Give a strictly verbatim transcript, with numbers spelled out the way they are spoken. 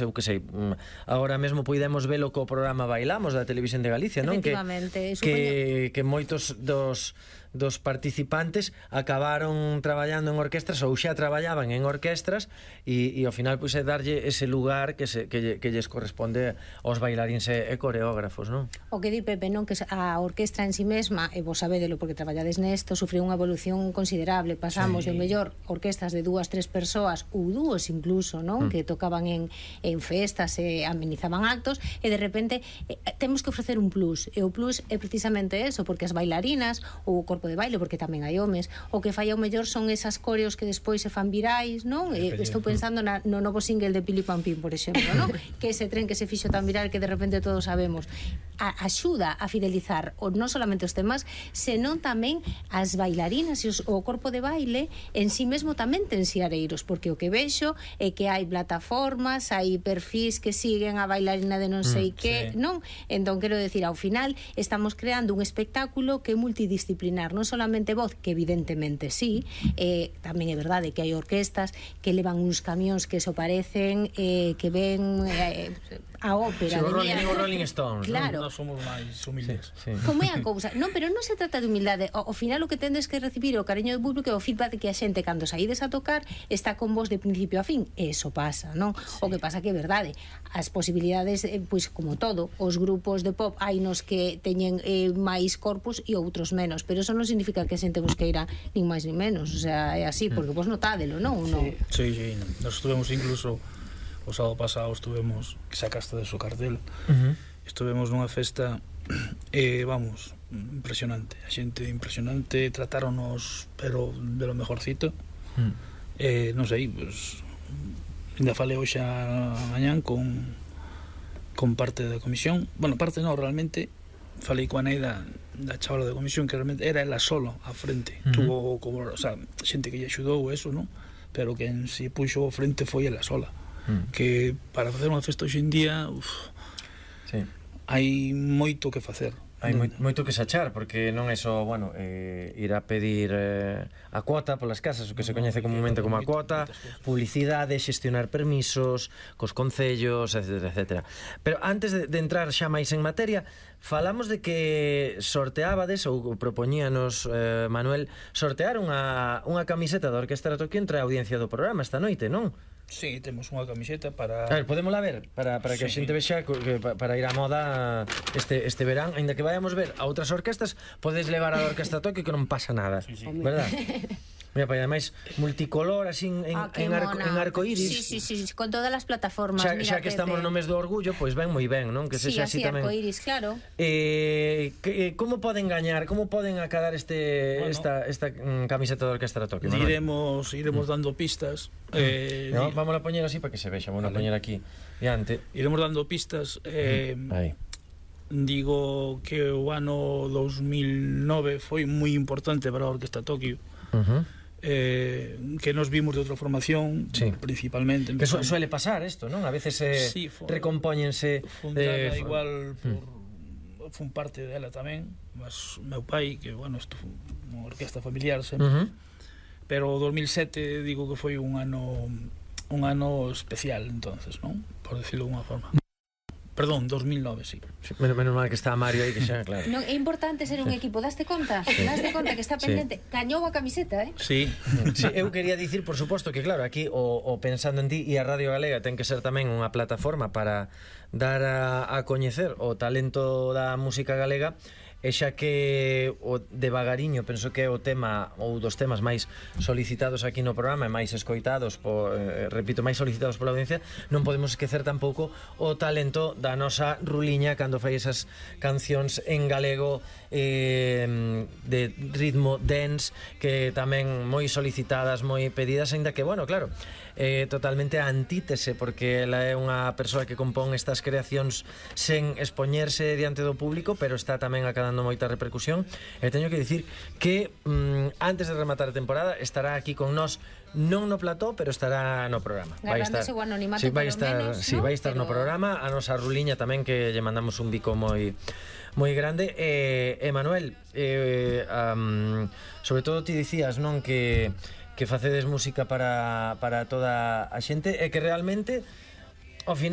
eu que sei, agora mesmo podemos velo co programa Bailamos da Televisión de Galicia, non? Efectivamente. Que, que moitos dos dos participantes acabaron traballando en orquestras ou xa traballaban en orquestras e, e ao final pois é darlle ese lugar que, se, que, que lles corresponde aos bailaríns e, e coreógrafos, non? O que di Pepe, non? Que a orquestra en si mesma, e vos sabedelo porque traballades nesto, sufriu unha evolución considerable. Pasamos sí. de mellor orquestas de dúas, tres persoas ou dúos incluso, non? Mm. Que tocaban en, en festas e amenizaban actos e de repente eh, temos que ofrecer un plus, e o plus é precisamente eso, porque as bailarinas ou o corpo de baile, porque tamén hai homes, o que falla o mellor son esas coreos que despois se fan virais, non? E estou pensando na, no novo single de Pili Pampín, por exemplo, non? Que ese tren que se fixo tan viral que de repente todos sabemos. A, axuda a fidelizar o, non solamente os temas, senón tamén as bailarinas e os, o corpo de baile en sí mesmo tamén ten xeareiros, porque o que vexo é que hai plataformas, hai perfís que siguen a bailarina de non sei mm, que, sí. non? Entón, quero decir, ao final estamos creando un espectáculo que é multidisciplinar, non solamente voz, que evidentemente sí, eh, tamén é verdade que hai orquestas que levan uns camións que so parecen, eh, que ven eh, a ópera. Sí, o Rolling, o Rolling Stones, claro. Non somos máis humildes. Sí, sí. Como é a cousa? Non, pero non se trata de humildade. Ao final o que tendes que recibir o cariño do público e o feedback de que a xente cando saídes a tocar está con vos de principio a fin. Eso pasa, non? Sí. O que pasa que é verdade. As posibilidades, eh, pois como todo, os grupos de pop hai nos que teñen eh, máis corpus e outros menos, pero eso non significa que a xente busqueira nin máis nin menos, o sea, é así, porque vos notádelo, non? Sí, sí, sí, nos estuvemos incluso o sábado pasado estuvemos, que sacaste de su cartel, uh-huh. estuvemos nunha festa e, eh, vamos, impresionante, a xente impresionante, tratáronos, pero de lo mejorcito, uh-huh. eh, non sei, pues, ainda falei hoxe a mañán con con parte da comisión, bueno, parte non, realmente falei coa Neida da chavala da comisión que realmente era ela solo á frente, uh-huh. tuvo como, o sea, xente que lle axudou eso, non? Pero que en si puxo á frente foi ela sola, uh-huh. que para facer unha festa hoxe en día, uf, sí. hai moito que facer. Hai moito, moito que sachar, porque non é só, bueno, eh, ir a pedir eh, a cuota polas casas, o que se coñece comúnmente como a cuota, publicidade, xestionar permisos cos concellos, etcétera, etcétera. Pero antes de, de entrar xa máis en materia, falamos de que sorteábades ou propoñíanos, eh, Manuel, sortear unha, unha camiseta da Orquestra Tokio entre a audiencia do programa esta noite, non? Sí, temos unha camiseta para... A ver, podémola ver, para, para que sí. a xente vexa que, para ir á moda este, este verán, aínda que vayamos ver a outras orquestas, podes levar a Orquestra Tokio que non pasa nada, sí, sí. verdad? Mira, para ademais multicolor, así en, ah, en, arco, en arcoíris. Sí, sí, sí, con todas as plataformas. Xa, mira, xa que estamos no mes do orgullo, pois ben moi ben, non? Que sí, sexa así, así tamén. arcoíris, claro. Eh, que, como poden gañar, como poden acadar este bueno, esta esta mm, camiseta da Orquestra Tokio? Iremos iremos dando pistas. Eh, no, vamos a poñer así para que se vexa, vamos vale. a poñer aquí diante. Iremos dando pistas. Eh, Aí. Digo que o ano dos mil nove foi moi importante para a Orquestra Tokio. Uh-huh. Eh, que nos vimos de outra formación, sí. principalmente que su suele pasar isto, non? A veces eh, sí, recompóñense fundada eh, igual por, mm. fun parte dela tamén, mas meu pai, que bueno, isto foi unha orquesta familiar sempre, uh -huh. pero o dos mil sete digo que foi un ano un ano especial entonces, non? Por decirlo de unha forma. Perdón, dos mil nove, sí. sí menos, menos mal que está Mario aí, que xa, claro. Non, é importante ser un sí. equipo, daste conta? Sí. Daste conta que está pendente? Sí. Cañou a camiseta, eh? Sí. sí. Eu quería dicir, por suposto, que claro, aquí o, o Pensando en Ti e a Radio Galega ten que ser tamén unha plataforma para dar a, a coñecer o talento da música galega, e xa que o devagariño penso que é o tema ou dos temas máis solicitados aquí no programa e máis escoitados por, eh, repito, máis solicitados pola audiencia, non podemos esquecer tampouco o talento da nosa Ruliña cando fai esas cancións en galego eh, de ritmo dance que tamén moi solicitadas, moi pedidas, aínda que, bueno, claro, eh, totalmente a antítese, porque ela é unha persoa que compón estas creacións sen expoñerse diante do público, pero está tamén acadando moita repercusión, e teño que dicir que mm, antes de rematar a temporada estará aquí con nós, non no plató, pero estará no programa. Vai estar, o anonimato, sí, vai estar, menos, sí, ¿no? vai estar pero... no programa, a nosa Ruliña tamén, que lle mandamos un bico moi moi grande. E, e Manuel, eh, um, sobre todo ti dicías, non, que que facedes música para, para toda a xente, e que realmente ao final